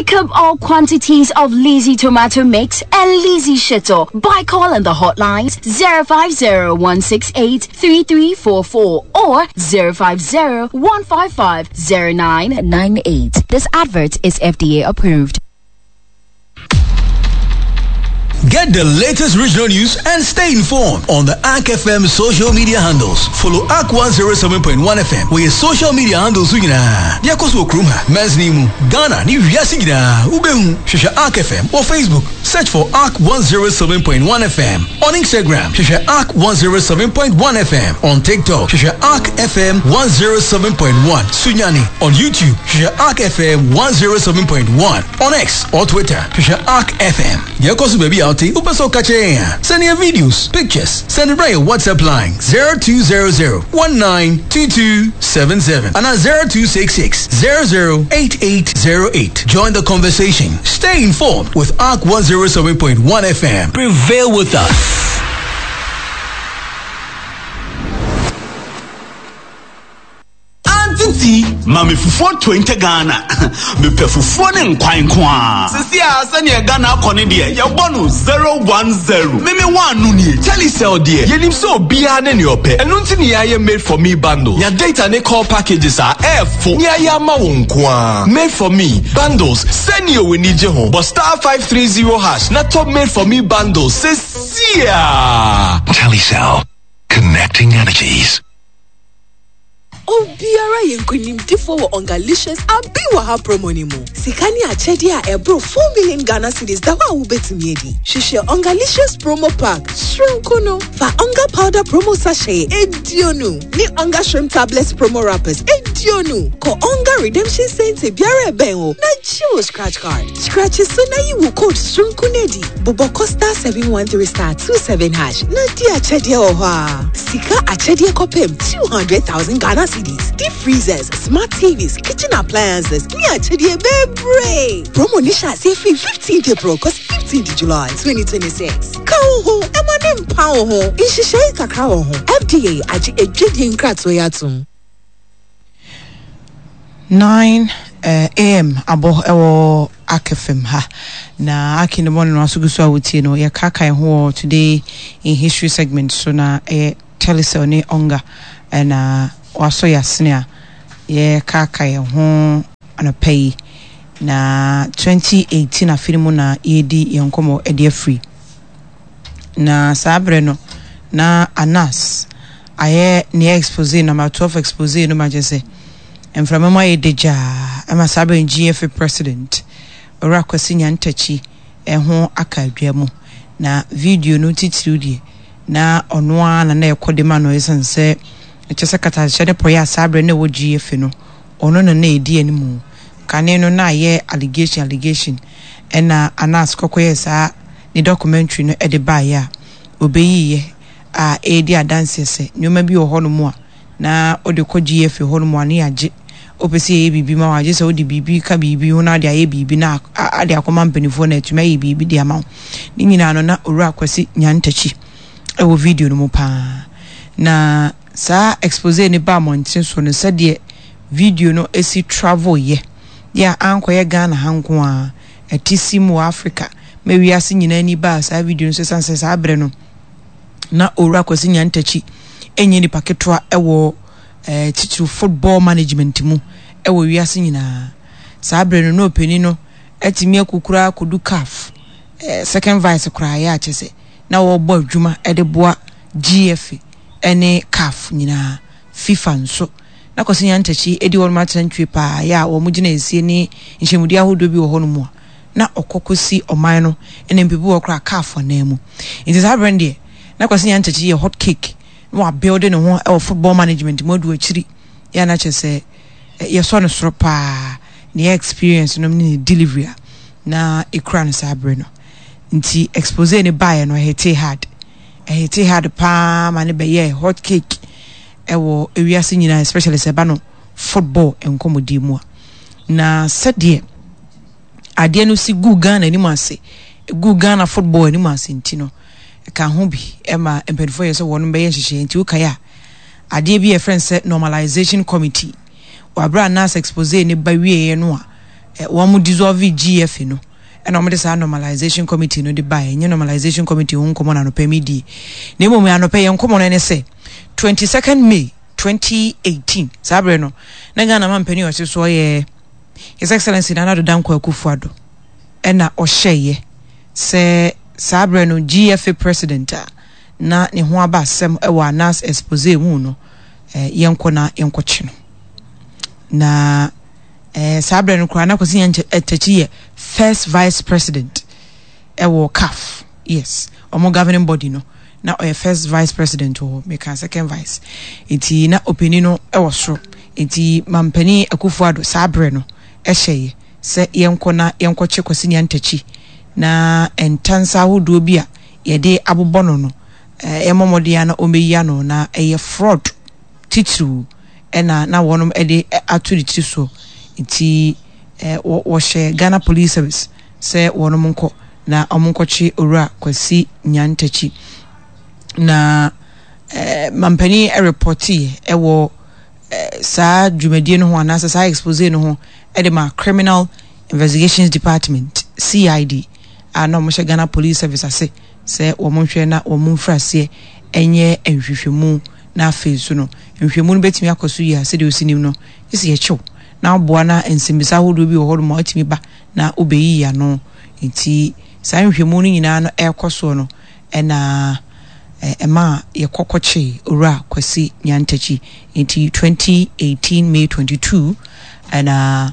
Pick up all quantities of Lizzy tomato mix and Lizzy Shito by calling the hotlines 050 168 3344 or 050 155 0998. This advert is FDA approved. Get the latest regional news and stay informed on the ARK FM social media handles. Follow ARK 107.1 FM wɔ yɛ social media handles so nyinaa. Deɛ ɛkɔ so wɔ kurom ha, mansini mu, Ghana ne wiase nyinaa, wobɛhu. Hwehwɛ ARK FM wɔ Facebook, search for ARK 107.1 FM. On Instagram, hwehwɛ ARK 107.1 FM. On TikTok, hwehwɛ ARK FM 107.1 Sunyani. On YouTube, hwehwɛ ARK FM 107.1. On X or Twitter, hwehwɛ Ark FM. Deɛ ɛkɔ so baabi a wote, wopɛ sɛ woka kyerɛ yɛn a, send yɛn videos, pictures, send bra yɛn WhatsApp line 0200 192277 anaa 0266 008808. Join the conversation. Stay informed with Ark 107.1 FM. Prevail with us. Auntie T, ma me fufuo 20 Ghana. Mepɛ fufuo ne nkwan nko ara. Sisi a sɛnea Ghana akɔ ne deɛ, yɛbɔ no 010. Meme one no nie. Telecel deɛ, yɛnim sɛ obiara ne nea ɔpɛ. Ɛno nti ne yɛayɛ Made for Me bundles. Nya data ne call packages a ɛɛfo ne ayɛ ama wo nko ara. Made for Me bundles, sɛnea w'ani gye ho. Bɔ star 530 hash na tɔ Made for Me bundles sesia. Telecel, connecting energies. Obiara yɛ nkonimdifoɔ wɔ Ongalicious Abi Wɔ Ha promo no mu. Sika ne akyɛdeɛ a ɛboro 4 million Ghana cedis da hɔ a wobɛtumi adi. Hwehwɛ Ongalicious promo pack soronko no. Fa Onga powder promo sachet eduonu ne Onga shrimp tablets promo wrappers eduonu. Kɔ Onga redemption centre biara a ɛbɛn wo na gye wo scratch card. Scratch so na yi wo code soronko no adi. Bobɔ kɔ star 713 star 27 hash na di akyɛdeɛ wɔ hɔ a. Sika akyɛdeɛ kɔpem 200,000 Ghana cedis, deep freezers, smart TVs, kitchen appliances ne akyɛdeɛ bebree. Promo no hyɛ aseɛ firi 15th April kɔsi 15th July 2026. Ka wo ho ma ne mpa wo ho. Nhyehyɛe kakra wɔ ho. FDA agye adwadie nkratoɔ yi atom. 9 AM abɔ wɔ Ark FM ha. Na Ark in the morning no aso gu so a wotie no. Yɛkaakae ho wɔ Today in History segment so na ɛyɛ Telecel ne Onga na wasɔ yɛ asene a yɛkaakae ho anɔpa yi. Na 2018 afe no mu na yɛredi yɛn nkɔmmɔ de afiri. Na saa berɛ no na Anas ayɛ ne expose number 12 expose no ma kyerɛ sɛ mframa mu ayɛ dagyaa ɛma saa berɛ no GFA president Owura Kwasi Nyantakyi ɛho aka adwa mu. Na video no titiriw deɛ na ɔno ara na na ɛkɔ de ma no ɛsiane sɛ ɛkyɛ sɛ katahyɛ ne pɔyɛ a saa berɛ no na ɛwɔ GFA no ɔno na na ɛdi anim. Kane no na ayɛ allegation allegation ɛna Anas kɔkɔyɛɛ saa ne documentary no de baeɛ a ɔbɛyiiɛ a ɛredi adanseɛ sɛ nneɛma bi wɔ hɔnom a na wode kɔ GFA hɔnom a ne yɛagye. Wopɛ sɛ yɛyɛ biribi ma wo a, gye sɛ wode biribi ka biribi ho na wode ayɛ biribi na ade akɔma mpanimfoɔ na atumi ayɛ biribi de ama wo. Ne nyinaa no na Owura Kwasi Nyantakyi wɔ video no mu paa. Na saa expose no baa mmɔnten so no sɛdeɛ video no si travel yɛ yɛ a ankɔyɛ Ghana ha nko ara, ɛte sim wɔ Africa ma wiase nyinaa ani baa saa video no so ɛsiane sɛ saa berɛ no na Owura Kwasi Nyantakyi ɛnyɛ nipa ketewa ɛwɔ eh, titiriw football management mu ɛwɔ wiase nyinaa. Saa berɛ no na ɔpanin no atumi akukura akɔdu CAF eh, second vice koraa yɛ akyɛ sɛ na wɔrebɔ adwuma de boa GFA ne CAF nyinaa, FIFA nso. Na Kwasi Nyantakyi di hɔnom atena ntwie paa yɛ a wɔn gyinaesie ne nhyɛmudi ahodoɔ bi wɔ hɔnom a na ɔkɔ kɔsi ɔman no ne mpepu hɔ koraa CAF anan mu. Nti saa berɛ no deɛ na Kwasi Nyantakyi yɛ hot cake na wabuilde ne ho wɔ football management mu adu akyiri yɛ a na kyerɛ sɛ yɛsɔ no soro paa ne experience nom ne ne delivery a na ɛkura no saa berɛ no. Nti expose no baeɛ no ɛhitee hard. Ɛhitee hard paa ma no bɛyɛɛ hot cake ɛwɔ ewiase nyinaa especially sɛ ɛba no football nkɔmmɔdie mu a. Na sɛdeɛ adeɛ no si gu Ghana anim ase, gu Ghana football anim ase nti no, ɛka ho bi ɛma mpanimfoɔ yɛ sɛ wɔn bɛyɛ nhyehyɛeɛ. Nti wokae a, adeɛ bi a yɛfrɛ no sɛ normalization committee, wɔ abere a NAS expose ne ba wieɛ no a, wɔn dissolve GFA no ɛna wɔde saa normalization committee no de baeɛ. Ɛnyɛ normalization committee ho nkɔmmɔ na anɔpa medie, na mmom anɔpa yɛn nkɔmmɔ no ne sɛ 22nd May 2018, saa berɛ no na Ghana mampanin a ɔte soɔ yɛ His Excellency Nana Addo Dankwa Akufo-Addo, ɛna ɔhyɛeɛ sɛ saa berɛ no GFA president a na ne ho aba asɛm wɔ Anas expose mu no, yɛnkɔ na yɛnkɔkye no. Na saa berɛ no koraa na Kwasi Nyantakyi yɛ first vice president ɛwɔ CAF, yes, ɔmo governing body no, na ɔyɛ first vice president wɔ hɔ, meka second vice, nti na ɔpanin no wɔ soro. Nti mampanin Akufo-Addo saa berɛ no hyɛeɛ sɛ yɛnkɔ na yɛnkɔkye Kwasi Nyantakyi na ntansa ahodoɔ bi a yɛde abobɔ no no, yɛmmɔ mmɔden ara na ɔmmɛyi ano, na ɛyɛ fraud titiriw na na wɔnom de ato ne tiri soɔ. Nti wɔhyɛ Ghana Police Service sɛ wɔnom nkɔ na wɔn nkɔkye Owura Kwasi Nyantakyi. Na mampanin repɔteeɛ ɛwɔ saa dwumadie no ho anaasɛ saa expose no ho de ma Criminal Investigations Department, CID, a na wɔhyɛ Ghana Police Service ase sɛ wɔn nhwɛ na wɔn mfiri aseɛ nyɛ nhwehwɛmu. Na afei nso no, nhwehwɛmu no bɛtumi akɔ so yie a, sɛdeɛ ɔsi nim no, gye sɛ yɛkye wo na woboa na nsɛmmisa ahodoɔ bi wɔ hɔ nom a wotumi ba na wobɛyiyi ano. Nti saa nhwehwɛmu no nyinaa no ɛrekɔ soɔ no, ɛna ɛmaa yɛkɔ kɔkyee Owura Kwasi Nyantakyi. Nti 2018 May 22 ɛna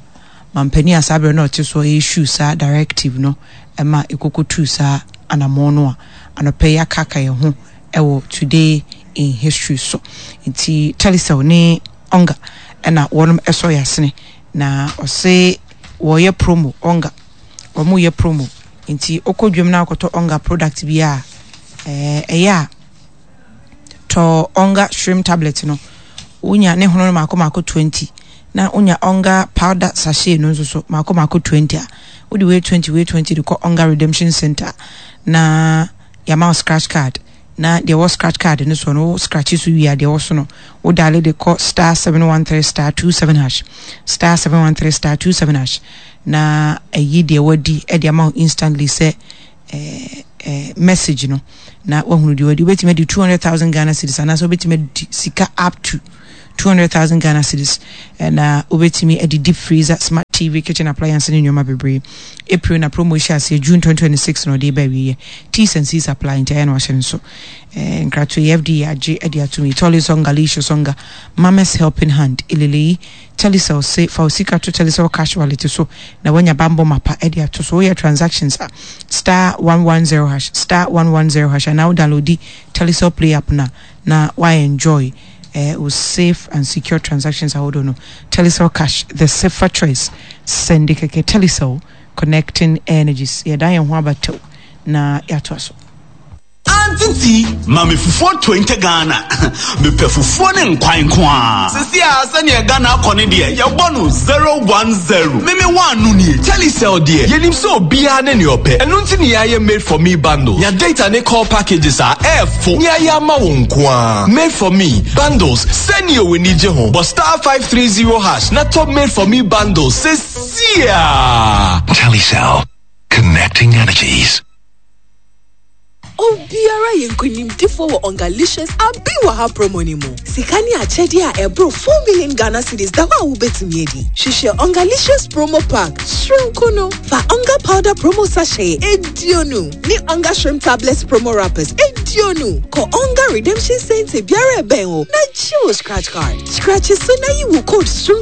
mampanin a saa berɛ no ɔte soɔ issue saa directive no ɛma yɛkɔkɔtuu saa anamɔn no a anɔpa yi akaaka yɛn ho ɛwɔ Today in History so. Nti Telecel ne Onga ɛna wɔnom ɛsɔ yɛn asene na ɔse wɔyɛ promo Onga wɔn yɛ promo nti wokɔ dwam na akɔtɔ Onga product bi a ɛyɛ a tɔ Onga shrimp tablet no, wonya ne hono no mako mako 20, na wonya Onga powder sachet no nso so mako mako 20 a, wode wei 20 wei 20 de kɔ Onga Redemption Center na yɛama wo scratch card. Na deɛ ɛwɔ scratch card no soɔ no, wo scratch so wie a, deɛ ɛwɔ so no wo dial de kɔ star 713 star 27 hash, star 713 star 27 hash, na ɛyi deɛ wadi de ama wo instantly sɛ eh, eh, message no, na wahunu deɛ wadi. Wobɛtumi adi 200,000 Ghana cedis anaasɛ wobɛtumi adi sika up to 200,000 Ghana cedis, na wobɛtumi adi deep freezer, smart TV, kitchen appliance ne nneɛma bebree. April na promo hyɛ aseɛ, June 2026 na ɔde ba awieɛ. T's and C's apply, nti ayɛ na wahyɛ no nso. Eh, nkratoɔ yi FDA agye de atom yi. Tolly Songa, Lisho Songa, Mama's Helping Hand, Ileleyi, Telecel se fa wo sika to Telecel Cash Wallet so na woanya bammɔ mapa de ato so. Woyɛ transactions a, star 110 hash, star 110 hash anaa wo downloadi Telecel Play app no a na wa enjoy eh, wo safe and secure transactions ahodoɔ no. Telecel Cash, the safer choice. Sɛnde kɛkɛ. Telecel, connecting energies. Yɛdan yɛn ho aba tɛw na yɛatoa so. Auntie T, ma me fufuo 20 Ghana. Mepɛ fufuo ne nkwan nko ara. Sisi a sɛnea Ghana akɔ ne deɛ, yɛbɔ no 010. Me me one no nie. Telecel deɛ, yɛnim sɛ obiara ne nea ɔpɛ. Ɛno nti na yɛayɛ Made for Me bundle. Nya data ne call packages a ɛɛfo ne ayɛ ama wo nko ara. Made for Me bundles, sɛnea w'ani gye ho. Bɔ star 530 hash na tɔ Made for Me bundles sesia. Telecel, connecting energies. Obiara yɛ nkonimdifoɔ wɔ Ongalicious Abi Wɔ Ha promo no mu. Sika ne akyɛdeɛ a ɛboro 4 million Ghana cedis da hɔ a wobɛtumi adi. Hwehwɛ Ongalicious promo pack soronko no. Fa Onga powder promo sachet 20 ne Onga shrimp tablets promo wrappers 20 kɔ Onga Redemption Center biara ɛbɛn wo na gye wo scratch card. Scratch so na yi wo code soronko.